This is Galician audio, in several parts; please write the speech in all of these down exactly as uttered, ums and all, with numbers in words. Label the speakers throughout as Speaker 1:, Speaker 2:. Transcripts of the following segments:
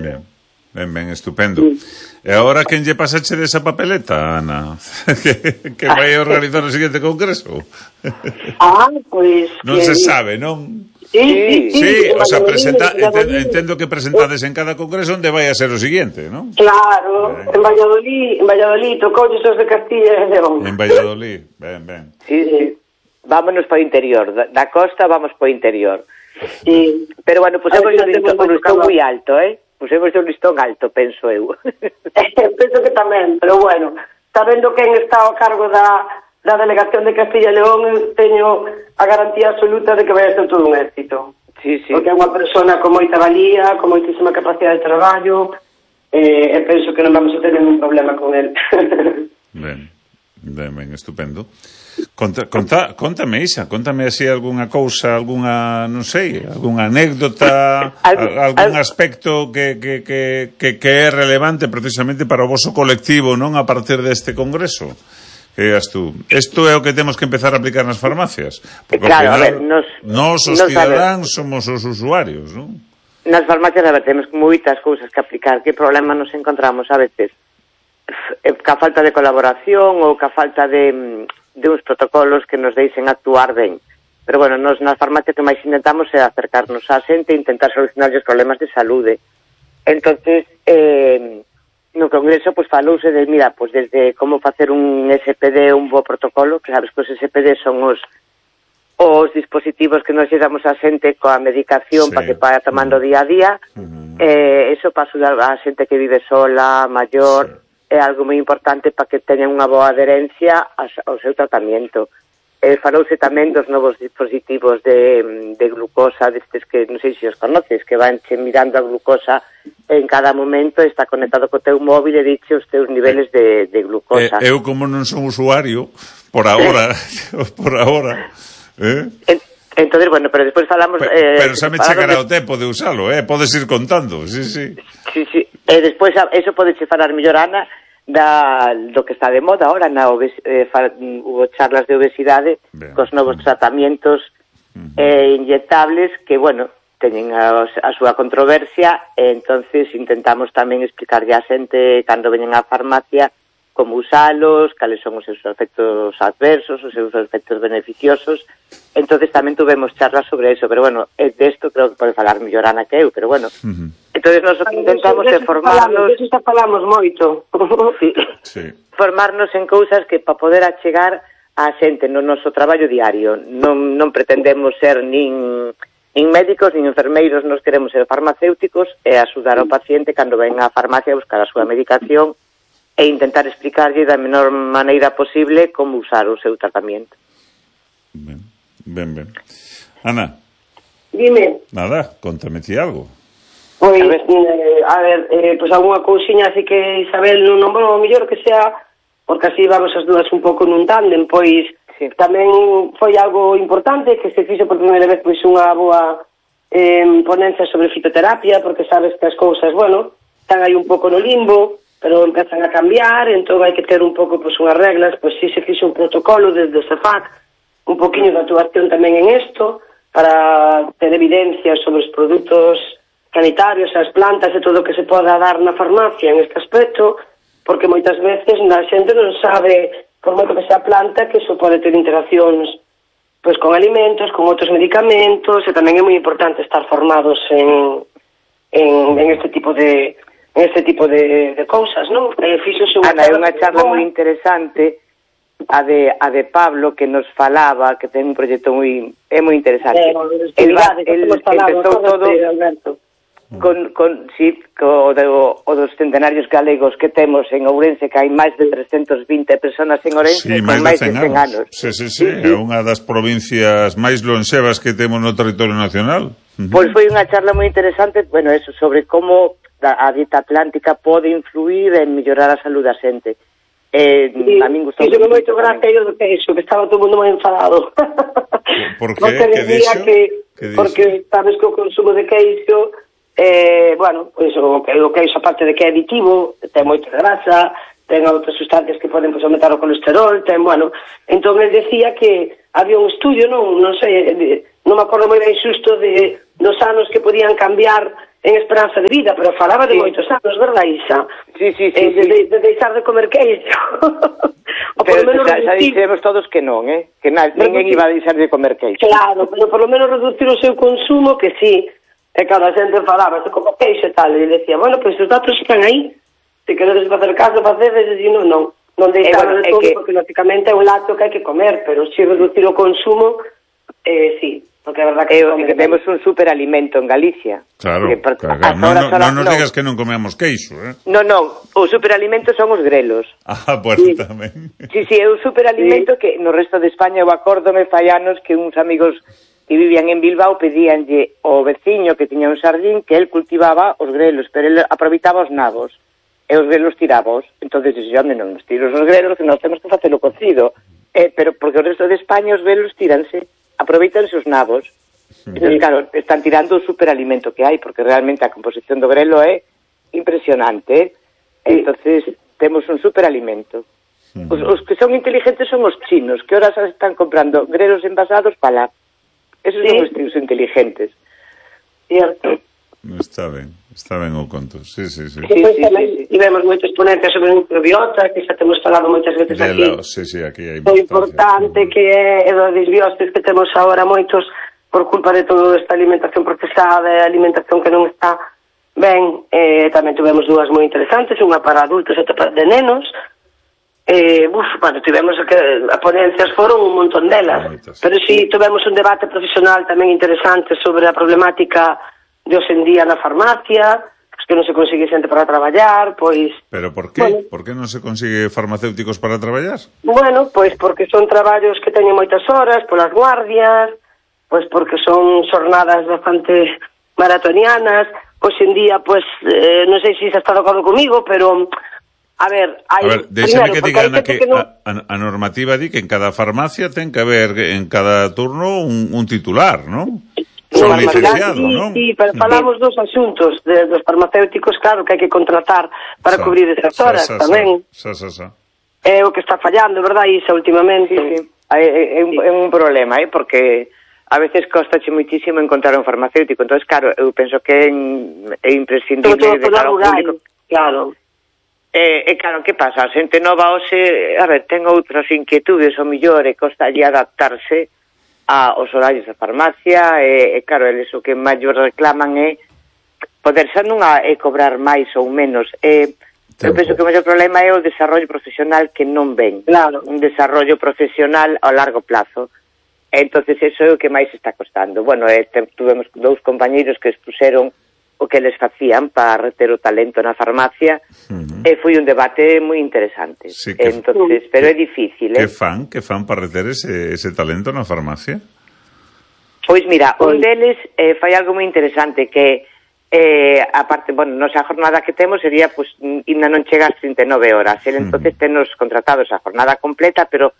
Speaker 1: Ben, ben, ben, estupendo. E agora quen lle pasache desa papeleta, Ana? que, que vai organizar o seguinte congreso?
Speaker 2: Ah, pois...
Speaker 1: Non
Speaker 2: que...
Speaker 1: se sabe, non?
Speaker 2: Sí, sí, sí.
Speaker 1: Sí, o sea, presenta, entendo, entendo que presentades en cada congreso onde vai a ser o seguinte, non?
Speaker 2: Claro, ben. en Valladolid, en Valladolid, tocou os de Castilla e León.
Speaker 1: En Valladolid, ben, ben.
Speaker 3: Sí, sí. Vámonos para o interior, da, da costa vamos para o interior.
Speaker 2: Sí.
Speaker 3: Pero bueno, pusemos un listón, un listón moi alto, eh? Pusemos un listón alto, penso eu.
Speaker 2: Penso que tamén, pero bueno, sabendo quen está ao cargo da, da delegación de Castilla e León, teño a garantía absoluta de que vai a ser todo un éxito.
Speaker 3: Sí, sí.
Speaker 2: Porque é unha persona con moita valía, con moitísima capacidade de traballo, eh, e penso que non vamos a ter ningún problema con el.
Speaker 1: Ben, ben, ben, estupendo. Conta, conta, contame, Isa, contame así algunha cousa, algunha, non sei, algunha anécdota, al, algún aspecto que, que, que, que, que é relevante precisamente para o voso colectivo, non, a partir deste congreso. Que digas tú, isto é o que temos que empezar a aplicar nas farmacias. Porque
Speaker 3: claro,
Speaker 1: ao final,
Speaker 3: a ver, nos,
Speaker 1: nos os
Speaker 3: nos
Speaker 1: cidadáns somos os usuarios, non?
Speaker 3: Nas farmacias, a ver, temos moitas cousas que aplicar. Que problema nos encontramos a veces? Ca falta de colaboración ou ca falta de... de uns protocolos que nos deixen actuar ben. Pero, bueno, nos na farmacia que máis intentamos é acercarnos á xente e intentar solucionar os problemas de saúde. Entonces, eh, no congreso, pues, falouse de, mira, pues, desde como facer un S P D, un bo protocolo, que sabes que os S P D son os os dispositivos que nos damos á xente coa medicación sí. para que vaya tomando uh-huh. día a día. Uh-huh. Eh, eso para axudar a xente que vive sola, maior... Sí. É algo moi importante para que teñan unha boa adherencia ao seu tratamento. Eh, falouse tamén dos novos dispositivos de, de glucosa, destes que non sei se os conoces, que van che mirando a glucosa en cada momento, está conectado co teu móvil e dixe os teus niveles de, de glucosa.
Speaker 1: Eh, eu como non son usuario, por agora, por agora, eh?
Speaker 3: En, entonces, bueno, pero despois falamos...
Speaker 1: Pero,
Speaker 3: eh,
Speaker 1: pero xa me chegará de... o tempo de usalo, eh? Podes ir contando, sí, sí.
Speaker 3: Sí, sí. E eh, despois, eso podeche falar mellor, Ana, da, do que está de moda ahora na obes, eh, fa, hubo charlas de obesidade ben, cos novos ben. tratamentos uh-huh. eh, inyectables que, bueno, teñen a, a súa controversia e entonces intentamos tamén explicarlle a xente cando veñen á farmacia como usalos, cales son os seus efectos adversos, os seus efectos beneficiosos. Entonces tamén tuvemos charlas sobre eso, pero bueno, desto creo que pode falar mellor Ana que eu, pero bueno. Uh-huh. Entonces nos intentamos de formarnos...
Speaker 2: Eso está falamos moito.
Speaker 3: Sí. Sí. Formarnos en cousas que para poder achegar a xente no noso traballo diario. Non, non pretendemos ser nin, nin médicos, nin enfermeiros, nos queremos ser farmacéuticos e axudar ao paciente cando ven á farmacia a buscar a súa medicación e intentar explicarlle da menor maneira posible como usar o seu tratamento.
Speaker 1: Ben, ben, ben. Ana.
Speaker 2: Dime.
Speaker 1: Nada, contame ti algo.
Speaker 2: Pois, a ver, eh, a ver eh, pois algunha cousiña así que Isabel non nombrou, o mellor que sea, porque así vamos as dúas un pouco nun tándem, pois sí. Tamén foi algo importante que se fixo por primeira vez pois unha boa eh, ponencia sobre fitoterapia, porque sabes que as cousas, bueno, están aí un pouco no limbo, pero empezan a cambiar, entón hai que ter un pouco pois unhas reglas, pois si se fixo un protocolo desde o CEFAC, un poquinho de actuación tamén en isto, para ter evidencias sobre os produtos sanitarios, as plantas e todo o que se poda dar na farmacia en este aspecto, porque moitas veces a xente non sabe, por moito que sea planta, que iso pode ter interaccións pois con alimentos, con outros medicamentos, e tamén é moi importante estar formados en, en, en este tipo de en este tipo de, de cousas, non? E fixose unha
Speaker 3: Ana, é unha charla moi interesante a de a de Pablo que nos falaba, que ten un proxecto moi é moi interesante.
Speaker 2: Eh, el va, el
Speaker 3: empezou todo Alberto. Con, con, sí, co, de, o, o dos centenarios galegos que temos en Ourense, que hai máis de trescentas vinte personas en Ourense,
Speaker 1: sí,
Speaker 3: con máis de cen anos.
Speaker 1: Sí, sí, sí, é sí, sí. unha das provincias máis lonxevas que temos no territorio nacional. Uh-huh.
Speaker 3: Pois foi unha charla moi interesante, bueno, eso, sobre como a dieta atlántica pode influir en mellorar a saúde da xente. Eh,
Speaker 2: sí, a min gustou moito. moito gracia eu do que iso, que estaba todo mundo moi enfadado.
Speaker 1: Por que? Que dixo?
Speaker 2: Que, que porque sabes que o consumo de queixo Eh, bueno, pois o, o queixo, aparte de que é aditivo, ten moita grasa, ten outras sustancias que poden pois, aumentar o colesterol, ten, bueno, entón ele decía que había un estudio, non, non sei, non me acordo moi ben xusto de dos anos que podían cambiar en esperanza de vida, pero falaba de sí. moitos anos, verdad, Isa?
Speaker 3: Sí, sí, sí.
Speaker 2: Eh, de,
Speaker 3: sí.
Speaker 2: De, de deixar de comer queixo.
Speaker 3: O pero menos xa, xa dixemos todos que non, eh? Que na, ninguén iba a deixar de comer queixo.
Speaker 2: Claro, pero por lo menos reducir o seu consumo, que sí. E cada xente falaba, se como queixo e tal, e decía, bueno, pois pues, os datos están aí. Se queredes facer caso, facedes, e non, non. Non deixar eh, bueno, de todo, que... porque lógicamente é un lácteo que hai que comer, pero si reducir o consumo, eh, sí. Porque é verdad que,
Speaker 3: eh, que temos un superalimento en Galicia.
Speaker 1: Claro,
Speaker 3: que,
Speaker 1: por, claro. Non no, no, no nos no. digas que non comemos queixo, eh?
Speaker 3: Non, non, o superalimento son os grelos.
Speaker 1: Ah, bueno, sí. tamén.
Speaker 3: Sí, sí, é un superalimento sí. que no resto de España, eu acórdome fai anos que uns amigos que vivían en Bilbao pedíanlle ao veciño que tiña un sardín que el cultivaba os grelos, pero el aproveitaba os nabos, e os grelos tirábos. Entonces, dixo, onde non nos tiros os grelos, que nós temos que facelo cocido. Eh, pero porque o resto de España os grelos tíranse, aproveitanse os nabos. Sí. Entón, claro, están tirando o superalimento que hai, porque realmente a composición do grelo é impresionante. Sí. Entonces, temos un superalimento. Sí. Os, os que son inteligentes son os chinos, que ahora están comprando grelos envasados para... Esos sí. son os tíos inteligentes.
Speaker 2: Cierto.
Speaker 1: Está ben, está ben o conto. Sí, sí, sí.
Speaker 2: Sí, sí, tamén sí, sí. Tivemos moitos ponentes sobre microbiota, que xa temos falado moitas veces de aquí.
Speaker 1: La, sí, sí, aquí hai
Speaker 2: o importante que é o desbiostes que temos agora moitos por culpa de toda esta alimentación procesada e alimentación que non está ben. Eh, tamén tivemos dúas moi interesantes, unha para adultos e outra para de nenos. Eh, uf, bueno, tivemos que a ponencias foron un montón delas, Moitas. Pero si sí, tivemos un debate profesional tamén interesante sobre a problemática de hoxe en día na farmacia, pues que non se consigue xente para traballar, pois...
Speaker 1: Pero por que? Bueno, por que non se consigue farmacéuticos para traballar?
Speaker 2: Bueno, pois porque son traballos que teñen moitas horas, polas guardias, pois porque son xornadas bastante maratonianas. Hoxe en día, pois, eh, non sei se xa está de acordo comigo, pero... A ver, hai...
Speaker 1: A ver, déxame que diga, Ana, que, que no... a, a normativa di que en cada farmacia ten que haber en cada turno un, un titular, non? Son no, licenciado, sí, non?
Speaker 2: Sí, pero falamos dos asuntos de, dos farmacéuticos, claro, que hai que contratar para sa, cubrir esas horas, sa, sa, tamén.
Speaker 1: Sa, sa, sa.
Speaker 2: É o que está fallando, verdad, Isa, últimamente?
Speaker 3: Sí, sí. É, é, un, é un problema, eh, porque a veces costache moitísimo encontrar un farmacéutico, entonces, claro, eu penso que é, é imprescindible de cara ao público.
Speaker 2: Claro.
Speaker 3: E, eh, eh, claro, que pasa? A xente nova hoxe, a ver, ten outras inquietudes, o millor, e costa allí adaptarse aos horarios da farmacia, e, e claro, eles o que maior reclaman é poder xa non a, é cobrar máis ou menos. E, eu penso que o maior problema é o desarrollo profesional que non ven.
Speaker 2: Claro.
Speaker 3: Un desarrollo profesional ao largo plazo. E, entonces, eso é o que máis está costando. Bueno, e, tuvemos dous compañeiros que expuseron o que les facían para reter o talento na farmacia, uh-huh. e foi un debate moi interesante.
Speaker 1: Sí, que
Speaker 3: entonces, pero é difícil,
Speaker 1: eh?
Speaker 3: Que
Speaker 1: fan? Que fan para reter ese, ese talento na farmacia?
Speaker 3: Pois mira, un deles eh, fai algo moi interesante, que eh, aparte, bueno, nosa jornada que temos sería, pues, ainda non chega ás trinta e nove horas, el entonces uh-huh. tenos contratados a jornada completa, pero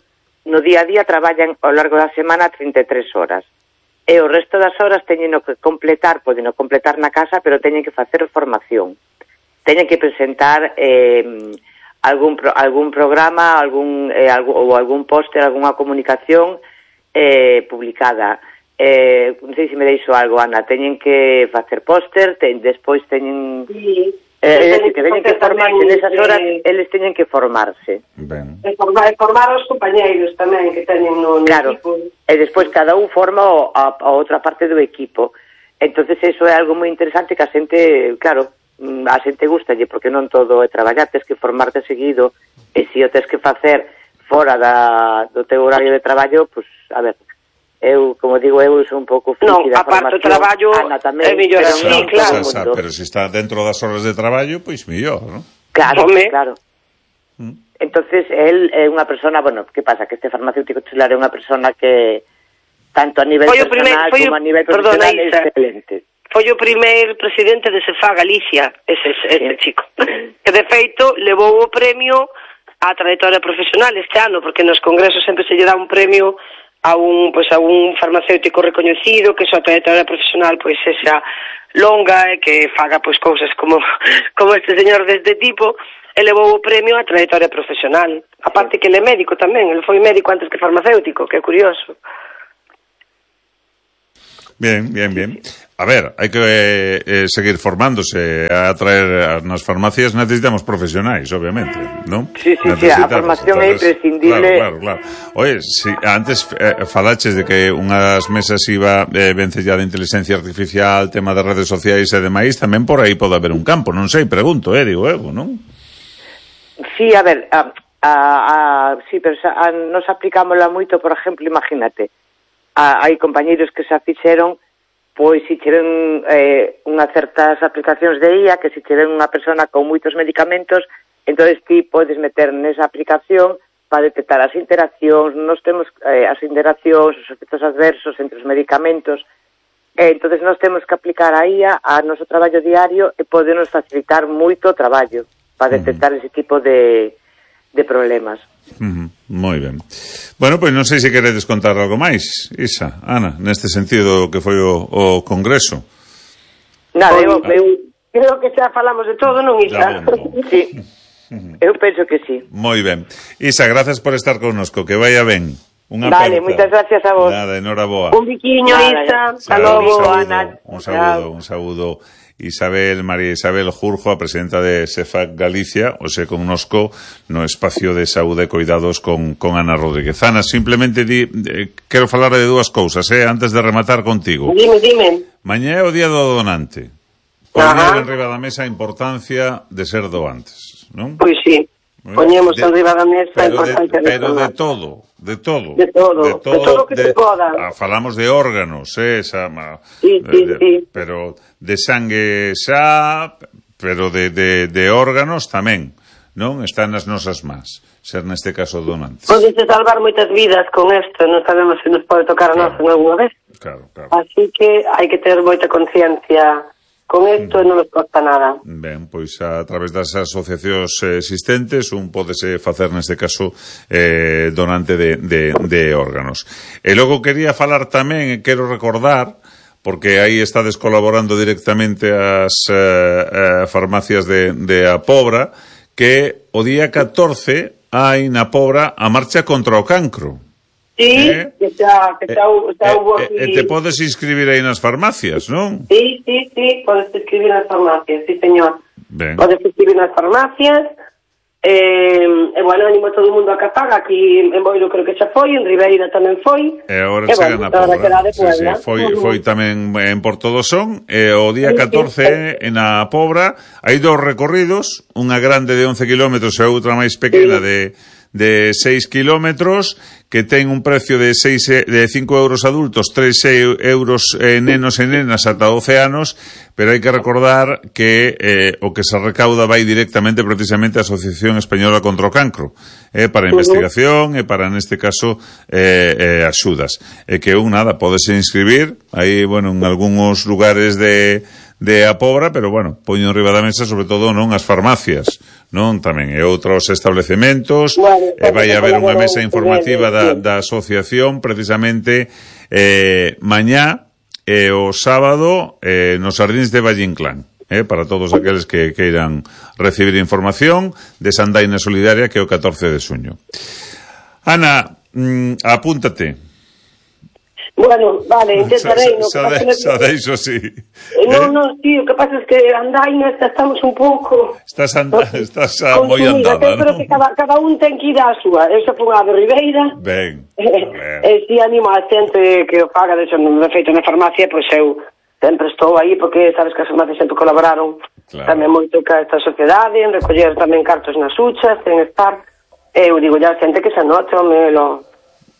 Speaker 3: no día a día traballan ao largo da semana trinta e tres horas. E o resto das horas teñen que completar, poden completar na casa, pero teñen que facer formación. Teñen que presentar eh, algún pro, algún programa, algún eh, algún, ou algún póster, algunha comunicación eh, publicada. Eh, non sei se me deixo algo, Ana. Teñen que facer póster, ten, despois teñen...
Speaker 2: Sí.
Speaker 3: Eh, eh, que teñen que formarse nesas horas, eh, eles teñen que formarse.
Speaker 2: Ben. E formar, formar os compañeiros tamén que teñen no, no
Speaker 3: claro.
Speaker 2: equipo.
Speaker 3: E despois cada un forma o, a, a outra parte do equipo. Entonces eso é algo moi interesante que a xente, claro, a xente gustalle, porque non todo é traballar, tens que formarte seguido, e se o tens que facer fora da, do teu horario de traballo, pues, a ver, eu, como digo, eu sou un pouco friki da formación. Non, aparte o traballo é mellor así,
Speaker 1: no,
Speaker 2: claro.
Speaker 1: Sa, sa, pero se está dentro das horas de traballo, pois mellor, non?
Speaker 3: Claro, Home. claro. Mm. Entonces, él é unha persona, bueno, que pasa? Que este farmacéutico titular é unha persona que, tanto a nivel foi personal primer, como a nivel profesional, é excelente.
Speaker 2: Foi o primeiro presidente de Cefa Galicia, ese, ese sí. chico. Que, de feito, levou o premio á trayectoria profesional este ano, porque nos congresos sempre se lle dá un premio a un, pues, a un farmacéutico recoñecido, que a súa trayectoria profesional pois pues, sexa longa e que faga pois pues, cousas como como este señor deste tipo, elevou o premio á trayectoria profesional. Aparte que ele é médico tamén, ele foi médico antes que farmacéutico, que é curioso.
Speaker 1: Bien, bien, bien. A ver, hai que eh, seguir formándose, a traer nas farmacias necesitamos profesionais, obviamente, non?
Speaker 3: Sí, sí, sí, a formación é imprescindible.
Speaker 1: Claro, claro, claro. Oye, si antes eh, falaches de que unhas mesas iba eh, vencellada de inteligencia artificial, tema de redes sociais e demais, tamén por aí pode haber un campo, non sei, pregunto, eh, digo, Evo, non?
Speaker 3: Sí, a ver, a, a, a, sí, pero a, nos aplicámosla moito, por exemplo, imagínate, a, hai compañeiros que se fixeron pois se cheren eh, unhas certas aplicacións de I A, que se cheren unha persona con moitos medicamentos, entonces ti podes meter nesa aplicación para detectar as interaccións, nos temos eh, as interaccións, os efectos adversos entre os medicamentos, eh, entonces nos temos que aplicar a I A a noso traballo diario e podenos facilitar moito o traballo para detectar uh -huh. ese tipo de, de problemas.
Speaker 1: Uh -huh. Moi ben. Bueno, pois non sei se queredes contar algo máis, Isa, Ana, neste sentido que foi o, o congreso.
Speaker 3: Nada, eu, eu
Speaker 2: creo que xa falamos de todo, non, Isa?
Speaker 3: Sí, eu penso que sí.
Speaker 1: Moi ben. Isa, gracias por estar connosco, que vaya ben. Unha
Speaker 3: vale,
Speaker 1: aperta.
Speaker 3: moitas gracias a vos.
Speaker 1: Nada, enhoraboa.
Speaker 2: Un biquiño, Isa.
Speaker 1: Hasta logo, Ana. Un saúdo, un saúdo. Isabel, María Isabel Jurjo, a presidenta de SEFAC Galicia, o se connosco no espacio de saúde e cuidados con, con Ana Rodríguez. Ana, simplemente di, eh, quero falar de dúas cousas, eh, antes de rematar contigo.
Speaker 2: Dime, dime.
Speaker 1: Mañá é o día do donante. Poñer en riba da mesa a importancia de ser doantes, non?
Speaker 2: Pois sí. Poñemos en riba da mesa a importancia de,
Speaker 1: pero de todo, de todo.
Speaker 2: De todo, de todo, de todo que de, se poda.
Speaker 1: Ah, falamos de órganos, eh, esa,
Speaker 2: sí, sí,
Speaker 1: de,
Speaker 2: sí.
Speaker 1: Pero de sangue xa, pero de, de, de órganos tamén, non? Están nas nosas más, ser neste caso donantes.
Speaker 2: Podese salvar moitas vidas con isto, non sabemos se nos pode tocar a nós en alguna vez.
Speaker 1: Claro, claro.
Speaker 2: Así que hai que ter moita conciencia con isto e non nos costa nada.
Speaker 1: Ben, pois a través das asociacións existentes un pódese facer neste caso eh, donante de, de, de órganos. E logo quería falar tamén, e quero recordar, porque aí estades colaborando directamente as eh, eh, farmacias de, de A Pobra, que o día catorce hai na Pobra a marcha contra o cancro.
Speaker 2: Sí, eh? que xa, que xa, xa
Speaker 1: eh,
Speaker 2: hubo aquí...
Speaker 1: E eh, te podes inscribir aí nas farmacias, non?
Speaker 2: Sí, sí, sí, podes inscribir nas farmacias, sí, señor.
Speaker 1: Ben.
Speaker 2: Podes inscribir nas farmacias, e, eh, bueno, animo a todo o mundo a que faga, aquí en Boiro creo que xa foi, en Ribeira tamén foi.
Speaker 1: E agora chega
Speaker 2: bueno,
Speaker 1: na Pobra.
Speaker 2: Sí,
Speaker 1: sí, foi, foi tamén en Porto do Son, e o día catorce en a Pobra hai dous recorridos, unha grande de once kilómetros e outra máis pequena sí. de... de seis kilómetros, que ten un precio de seis de cinco euros adultos, tres euros eh, nenos e nenas ata doce anos, pero hai que recordar que eh, o que se recauda vai directamente precisamente á Asociación Española contra o Cancro, eh, para investigación e para, neste caso, eh, eh, axudas. E que un, nada, podese inscribir, aí, bueno, en algúns lugares de... de A Pobra, pero bueno, poño en riba da mesa sobre todo non as farmacias, non tamén e outros establecementos, bueno, e vai haber unha mesa informativa da, da asociación precisamente eh, mañá e o sábado eh, nos Sardíns de Valle Inclán, eh, para todos aqueles que queiran recibir información de Sandaina Solidaria, que é o catorce de xuño. Ana, mm, apúntate.
Speaker 2: Bueno, vale, intentarei.
Speaker 1: Xa, xa, xa, xa deixo, sí.
Speaker 2: Non, non, sí, o que pasa é que andaina estamos un pouco...
Speaker 1: Estás, anda, estás a moi andada, non?
Speaker 2: Pero que cada, cada un ten que ir á súa. Eu xa fun a de Ribeira.
Speaker 1: Ben.
Speaker 2: E si animo a xente que o faga, de xo, de feito na farmacia, pois eu sempre estou aí, porque sabes que as farmacias sempre colaboraron claro. Tamén moito ca esta sociedade, en recoller tamén cartos nas huchas, en estar... Eu digo, ya xente que se anote, o me lo...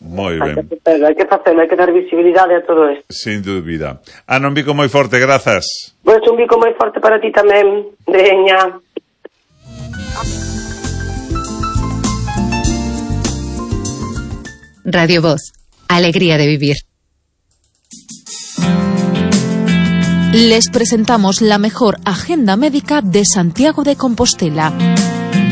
Speaker 1: Moi ben.
Speaker 2: Hai que facelo, hai que facelo, hai que dar visibilidade a todo isto.
Speaker 1: Sin dúbida. Ana, un bico moi forte, grazas.
Speaker 2: Pois un bico moi forte para ti tamén. Veña.
Speaker 4: Radio Voz, alegría de vivir. Les presentamos la mejor agenda médica de Santiago de Compostela.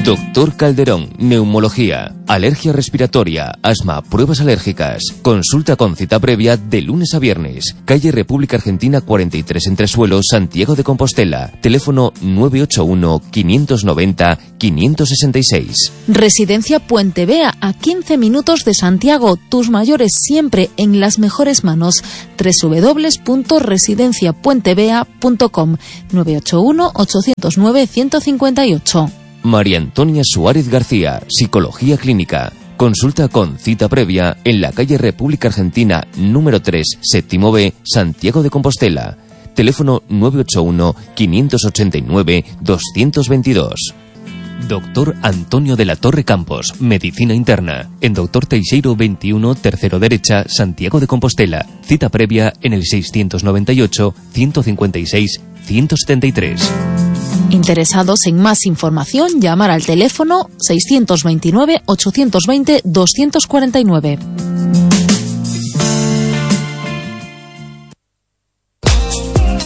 Speaker 5: Doctor Calderón, neumología, alergia respiratoria, asma, pruebas alérgicas. Consulta con cita previa de lunes a viernes. Calle República Argentina cuarenta y tres Entresuelos, Santiago de Compostela. Teléfono nueve ocho uno, quinientos noventa, quinientos sesenta y seis.
Speaker 6: Residencia Puente Vea, a quince minutos de Santiago. Tus mayores siempre en las mejores manos. doble u doble u doble u punto residencia puente vea punto com. nueve ocho uno, ocho cero nueve, uno cinco ocho.
Speaker 5: María Antonia Suárez García, Psicología Clínica. Consulta con cita previa en la calle República Argentina número tres, séptimo B, Santiago de Compostela. Teléfono nueve ocho uno, quinientos ochenta y nueve, doscientos veintidós. Doctor Antonio de la Torre Campos, Medicina Interna. En Doctor Teixeiro veintiuno, tercero derecha, Santiago de Compostela. Cita previa en el seiscientos noventa y ocho, ciento cincuenta y seis, ciento setenta y tres.
Speaker 6: Interesados en más información, llamar al teléfono seiscientos veintinueve, ochocientos veinte, doscientos cuarenta y nueve.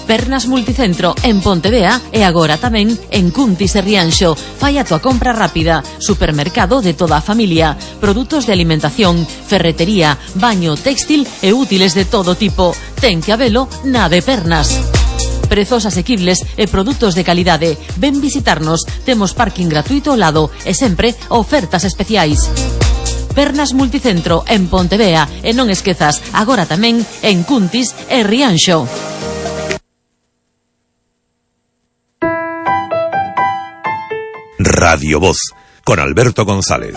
Speaker 7: Pernas Multicentro en Pontevea e agora tamén en Cuntis e Rianxo. Fai a tua compra rápida. Supermercado de toda a familia. Produtos de alimentación, ferretería, baño, textil e útiles de todo tipo. Ten que habelo na de Pernas. Prezos asequibles e produtos de calidade. Ven visitarnos. Temos parking gratuito ao lado e sempre ofertas especiais. Pernas Multicentro en Pontevea e non esquezas, agora tamén en Cuntis e Rianxo.
Speaker 8: Radio Voz, con Alberto González.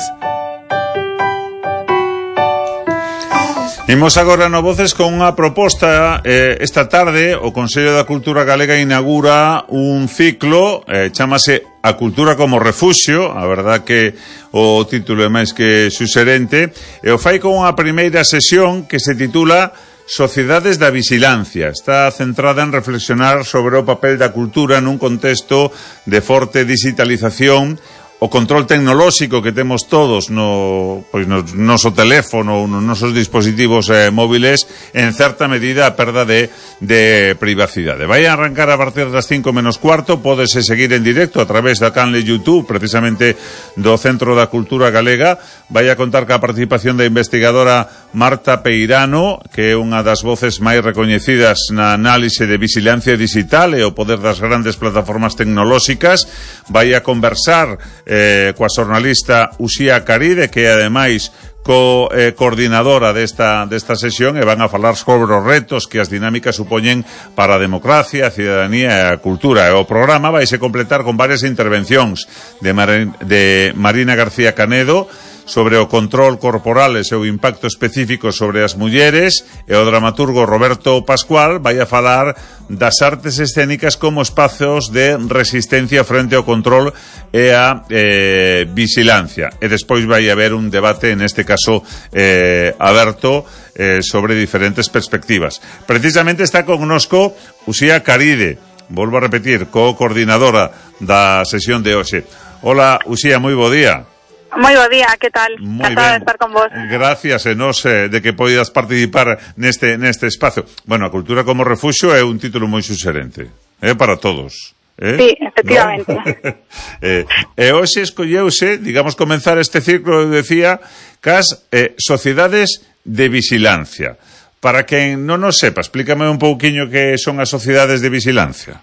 Speaker 1: Imos agora no Voces con unha proposta. eh, Esta tarde o Consello da Cultura Galega inaugura un ciclo, eh, chámase A Cultura como Refuxio. A verdad que o título é máis que suxerente, e o fai con unha primeira sesión que se titula Sociedades da Vixilancia. Está centrada en reflexionar sobre o papel da cultura nun contexto de forte digitalización, o control tecnolóxico que temos todos no, pois no noso teléfono ou nos nosos dispositivos eh, móviles, en certa medida a perda de, de privacidade. Vai a arrancar a partir das cinco menos cuarto, pódese seguir en directo a través da canle YouTube, precisamente do Centro da Cultura Galega. Vai a contar ca participación da investigadora Marta Peirano, que é unha das voces máis recoñecidas na análise de vixilancia digital e o poder das grandes plataformas tecnolóxicas. Vai a conversar Eh, coa xornalista Uxía Caride, que é ademais co eh, coordinadora desta, desta sesión, e van a falar sobre os retos que as dinámicas supoñen para a democracia, a cidadanía e a cultura. E o programa vai se completar con varias intervencións de, Mar de Marina García Canedo sobre o control corporal e seu impacto específico sobre as mulleres, e o dramaturgo Roberto Pascual vai a falar das artes escénicas como espazos de resistencia frente ao control e a eh, vixilancia. E despois vai haber un debate, en este caso eh, aberto, eh, sobre diferentes perspectivas. Precisamente está connosco Uxía Caride, volvo a repetir, co-coordinadora da sesión de hoxe. Hola, Uxía, moi bo día.
Speaker 9: Moi bo día, que tal? Encantada de estar con vos.
Speaker 1: Gracias, e nos eh, de que poidas participar neste neste espacio. Bueno, A Cultura como Refuxio é un título moi suxerente, é eh, para todos. Eh?
Speaker 9: Sí, efectivamente.
Speaker 1: ¿No? eh, e hoxe escolleuse, digamos, comenzar este ciclo, eu decía, cas eh, sociedades de vixilancia. Para quen non nos sepa, explícame un pouquiño que son as sociedades de vixilancia.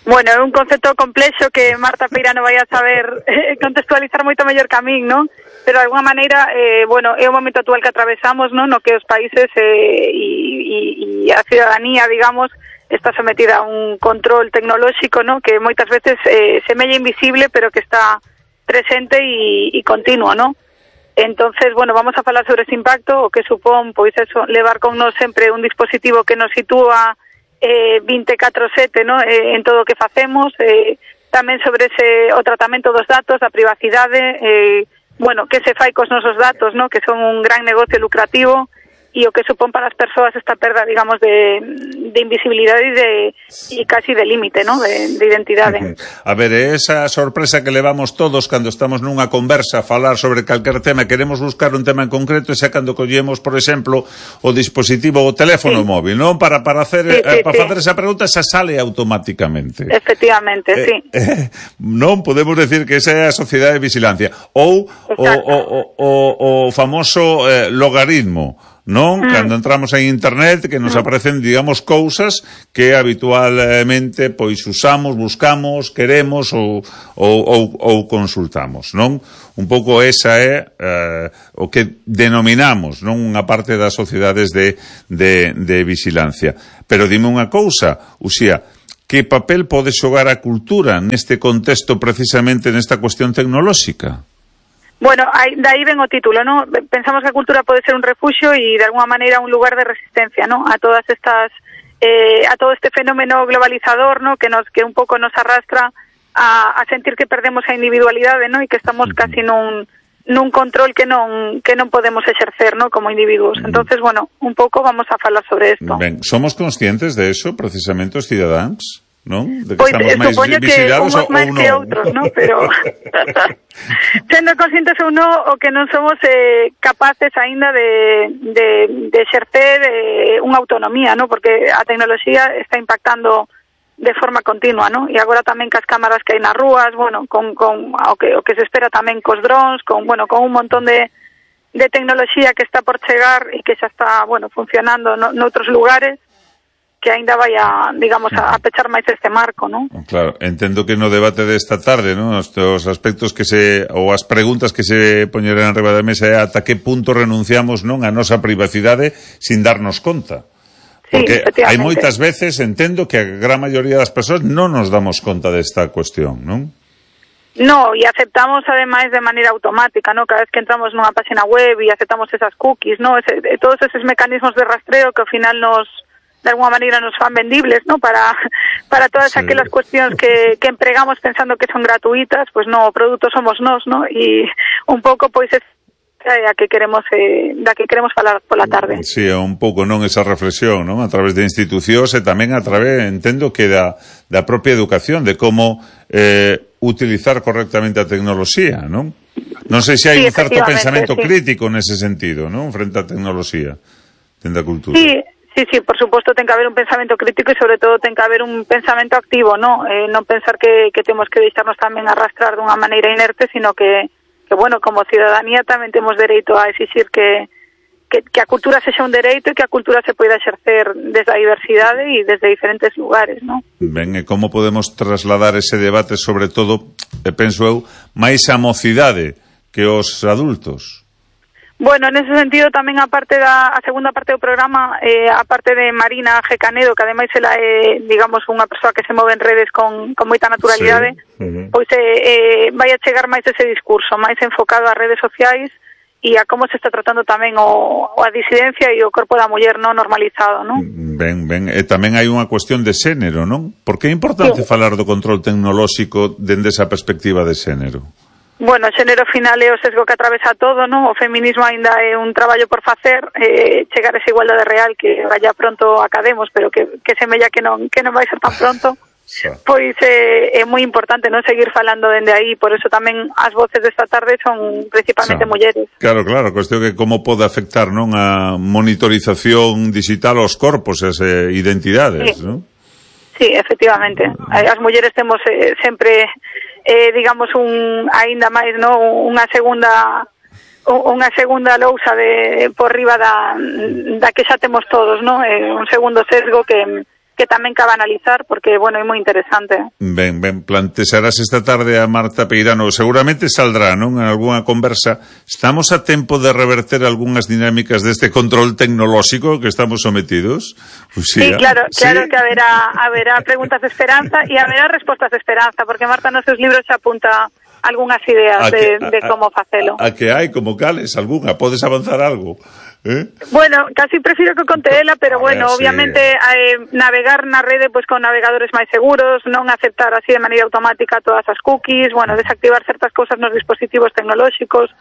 Speaker 9: Bueno, é un concepto complexo que Marta Peirano vai a saber eh, contextualizar moito mellor que a min, non? Pero de alguna maneira, eh, bueno, é o momento actual que atravesamos, non? No que os países eh, e, e a ciudadanía, digamos, está sometida a un control tecnolóxico, non? Que moitas veces eh, semella invisible, pero que está presente e, e continuo, non? Entonces, bueno, vamos a falar sobre ese impacto, o que supón, pois eso, levar con nos sempre un dispositivo que nos sitúa Eh, veinticuatro sete, ¿no? eh, en todo o que facemos, eh, tamén sobre ese o tratamento dos datos, a privacidade, eh, bueno, que se fai cos nosos datos, ¿no? Que son un gran negocio lucrativo, e o que supón para as persoas esta perda, digamos, de, de invisibilidade e de e casi de límite, ¿no? de, de identidade.
Speaker 1: Uh-huh. A ver, esa sorpresa que levamos todos cando estamos nunha conversa a falar sobre calquer tema, queremos buscar un tema en concreto, e xa cando collemos, por exemplo, o dispositivo, o teléfono sí. móvil, non? Para, para, hacer,
Speaker 9: sí, sí,
Speaker 1: eh, para
Speaker 9: sí.
Speaker 1: facer esa pregunta, xa sale automáticamente.
Speaker 9: Efectivamente, eh, sí.
Speaker 1: Eh, non podemos decir que esa é a sociedade de vigilancia. Ou o, o, o, o famoso eh, logaritmo, non? Mm. Cando entramos en internet que nos mm. aparecen, digamos, cousas que habitualmente pois usamos, buscamos, queremos ou, ou, ou, ou consultamos, non? Un pouco esa é eh, o que denominamos, non, unha parte das sociedades de, de, de vigilancia. Pero dime unha cousa, Uxía, que papel pode xogar a cultura neste contexto, precisamente nesta cuestión tecnolóxica?
Speaker 9: Bueno, aí, de aí ven o título, ¿no? Pensamos que a cultura pode ser un refuxio e de alguna maneira un lugar de resistencia, ¿no? A todas estas, eh, a todo este fenómeno globalizador, ¿no? Que nos, que un pouco nos arrastra a, a sentir que perdemos a individualidade, ¿no? E que estamos casi nun, nun control que non, que non podemos exercer, ¿no? Como individuos. Entonces, bueno, un pouco vamos a falar sobre esto.
Speaker 1: Ben, somos conscientes de eso, precisamente os cidadáns? Non? De que
Speaker 9: pois
Speaker 1: estamos máis
Speaker 9: supoño que unhos máis que outros, non? Pero sendo conscientes ou non, o que non somos eh, capaces aínda de, de, de exercer eh, unha autonomía, non? Porque a tecnoloxía está impactando de forma continua, non? E agora tamén cas cámaras que hai nas rúas, bueno, con, con o, que, o que se espera tamén cos drones, con, bueno, con un montón de, de tecnoloxía que está por chegar e que xa está, bueno, funcionando no, noutros lugares, que aínda vai a, digamos, a, a pechar máis este marco, non?
Speaker 1: Claro, entendo que no debate desta tarde, non, os, os aspectos que se, ou as preguntas que se poñerán arriba da mesa é ata que punto renunciamos, non, a nosa privacidade sin darnos conta. Porque sí, hai moitas veces, entendo, que a gran maioría das persoas non nos damos conta desta cuestión, non?
Speaker 9: No, e aceptamos ademais de maneira automática, ¿no? Cada vez que entramos nunha página web e aceptamos esas cookies, ¿no? Ese, todos esos mecanismos de rastreo que ao final nos de alguna maneira nos fan vendibles, ¿no? Para para todas sí. aquelas cuestións que, que empregamos pensando que son gratuitas, pues no, o produto somos nós, ¿no? E un pouco, pois, é a que queremos eh, da que queremos falar pola tarde.
Speaker 1: Sí, un pouco, non, esa reflexión, non? A través de institucións e tamén a través, entendo que da, da propia educación, de como eh, utilizar correctamente a tecnoloxía, non? Non sei se hai sí, un certo pensamento sí. crítico nese sentido, non? Frente á tecnoloxía, dende a cultura.
Speaker 9: Sí. Sí, sí, por suposto ten que haber un pensamento crítico e sobre todo ten que haber un pensamento activo, ¿no? Eh, non pensar que, que temos que deixarnos tamén arrastrar dunha maneira inerte, sino que, que bueno, como ciudadanía tamén temos dereito a exixir que, que, que a cultura sexa un dereito e que a cultura se poida exercer desde a diversidade e desde diferentes lugares, ¿no?
Speaker 1: Ben, e como podemos trasladar ese debate, sobre todo, e penso eu, máis a mocidade que os adultos?
Speaker 9: Bueno, en ese sentido tamén a parte da a segunda parte do programa, eh, a parte de Marina G. Canedo, que ademais ela é, digamos, unha persoa que se move en redes con, con moita naturalidade, sí. uh-huh. pois eh, eh, vai a chegar máis ese discurso, máis enfocado ás redes sociais e a como se está tratando tamén o, a disidencia e o corpo da muller non normalizado, non?
Speaker 1: Ben, ben, e tamén hai unha cuestión de xénero, non? Por que é importante sí. falar do control tecnolóxico dende esa perspectiva de xénero?
Speaker 9: Bueno, o xénero final é o sesgo que atravesa todo, non? O feminismo aínda é un traballo por facer, eh, chegar a esa igualdade real que vaya pronto academos, pero que, que semella que non que non vai ser tan pronto. Pois eh, é moi importante non seguir falando dende aí, por eso tamén as voces desta tarde son principalmente mulleres.
Speaker 1: Claro, claro, cuestión que como pode afectar, non, a monitorización digital aos corpos e as eh, identidades,
Speaker 9: sí.
Speaker 1: non?
Speaker 9: Sí, efectivamente. As mulleres temos eh, sempre eh, digamos un aínda máis, no, unha segunda unha segunda lousa de por riba da da que xa temos todos, no? Eh, un segundo sesgo que que tamén cabe analizar porque, bueno, é moi interesante.
Speaker 1: Ben, ben, plantexarás esta tarde a Marta Peirano, seguramente saldrá, non, en algunha conversa. Estamos a tempo de reverter algunhas dinámicas deste control tecnolóxico que estamos sometidos?
Speaker 9: Uxía. Sí, claro, claro ¿Sí? que haberá haberá preguntas de esperanza e haberá respostas de esperanza, porque Marta nos seus libros xa apunta algunhas ideas de, que, a, de como facelo.
Speaker 1: A, a que hai, como cales, algunha? Podes avanzar algo? ¿Eh?
Speaker 9: Bueno, casi prefiero que conte ela, pero a bueno, ver, obviamente sí. eh, navegar na rede pues con navegadores máis seguros, non aceptar así de maneira automática todas as cookies, bueno, desactivar certas cousas nos dispositivos tecnolóxicos,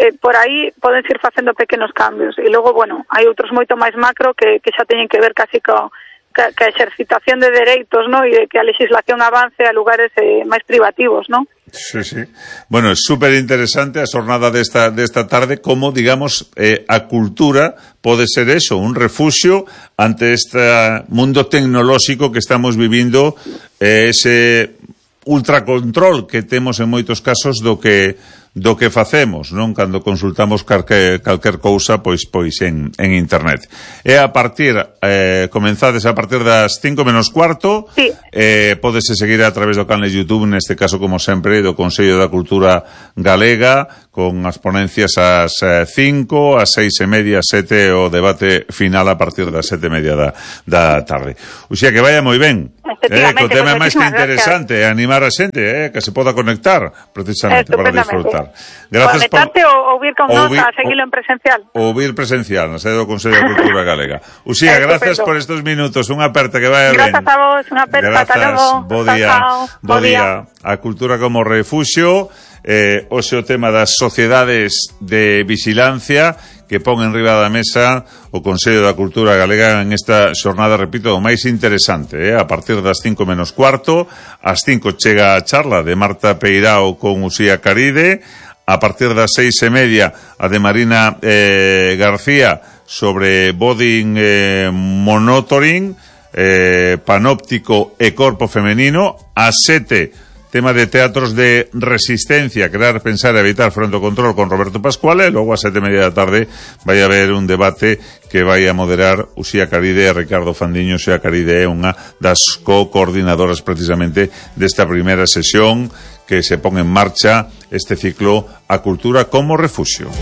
Speaker 9: eh, por aí poden ir facendo pequenos cambios. E logo, bueno, hai outros moito máis macro que, que xa teñen que ver casi co que, que a exercitación de dereitos, ¿no? E de que a legislación avance a lugares eh, máis privativos, ¿no?
Speaker 1: Sí, sí. Bueno, é super interesante a xornada desta, desta tarde, como, digamos, eh, a cultura pode ser eso, un refuxio ante este mundo tecnolóxico que estamos vivindo, eh, ese ultracontrol que temos en moitos casos do que do que facemos, non? Cando consultamos calquer, calquer cousa, pois pois en, en internet. E a partir, eh, comenzades a partir das cinco menos cuarto,
Speaker 9: sí.
Speaker 1: eh, podese seguir a través do canal de YouTube, neste caso, como sempre, do Consello da Cultura Galega, con as ponencias ás cinco, ás seis e media, sete, o debate final a partir das sete e media da, da tarde. O sea, que vaya moi ben. Eh, que o tema é máis que interesante, é animar a xente, eh, que se poda conectar, precisamente, para disfrutar.
Speaker 9: Gracias por conectarte ou vir con nós a seguilo en presencial.
Speaker 1: Ou vir presencial, na sede do Consello da Cultura Galega. Uxía, gracias por estes minutos, unha aperta, que vaya ben.
Speaker 9: Gracias a vos, unha aperta, ata logo.
Speaker 1: Bo día, bo día. A cultura como refuxio, eh, hoxe o tema das sociedades de vigilancia que pon en riba da mesa o Consello da Cultura Galega en esta xornada, repito, o máis interesante, eh? A partir das cinco menos cuarto, ás cinco chega a charla de Marta Peirao con Uxía Caride, a partir das seis e media a de Marina eh, García sobre body eh, monitoring, eh, panóptico e corpo femenino, a sete tema de teatros de resistencia, crear, pensar e evitar fronte ao control con Roberto Pascual, e logo a sete e media da tarde vai haber un debate que vai a moderar Uxía Caride e Ricardo Fandiño. Uxía Caride é unha das co-coordinadoras precisamente desta primeira sesión que se pon en marcha este ciclo A Cultura como Refuxio.